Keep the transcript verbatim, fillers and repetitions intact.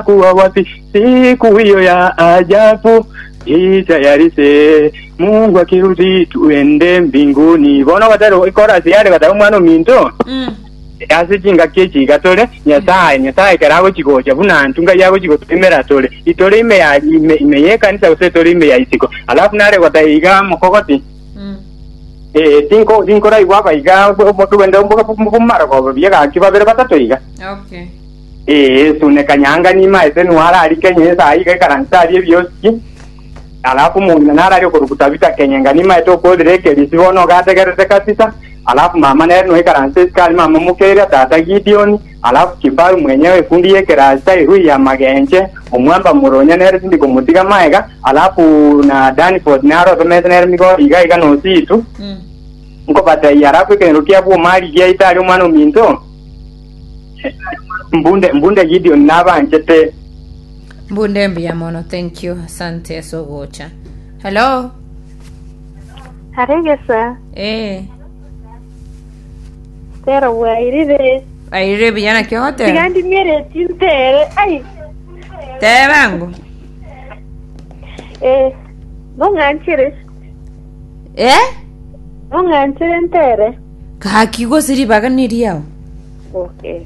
Kuwa wapi siku hiyo ya ajabu, jitayarishe, Mungu akirudi tuende mbinguni. Bono gatero ikorasi yare gataro mwana ominto Mm. ase chingaki echi iga tore Nyasaye, Nyasaye ekero agochigocha buna ntu ngai agochigotoimera tore itore ime ya ime, ime yekanisa gose tore ime ya isiko, alafu nare gotaiga iga mokogoti. Mm. Eh, tinko tinkoraigwa abaiga tugende bumarogoba biegaki babere batato iga. Okay. Eh, sune kanyanga nimaete nuarari Kenya esa iga ikaransa ari ebioski, alafu mung'ina narari okorukuta vita Kenyenga nimaete okorire ekerisi bono gategerete kabisa, alafu mama nere noikaransa esikari mama mukeria tata Gideon, alafu kifaru mwenyewe fundi yekerasa irui ya magenche omwamba muronya nere tindi komutiga maega, alafu na Danford naro tomete nere migo iga iga nositu. Mm. Nkobataiya, alafu ekenero kia bwomari giaitari omwana ominto mbunde mbunde Gideon nabanchete. Mbunde mbuya mono, thank you, asante ase ogocha. Hello. Aregesa. Eh. Tero bwairire. Airire buya, naki ogoteba? Tiga ndimiere tintere. Ai, Tebango. Eh, nong'anchire. Eh. Nong'anchire ntere. Gaki gose ribaga neriao. Okay.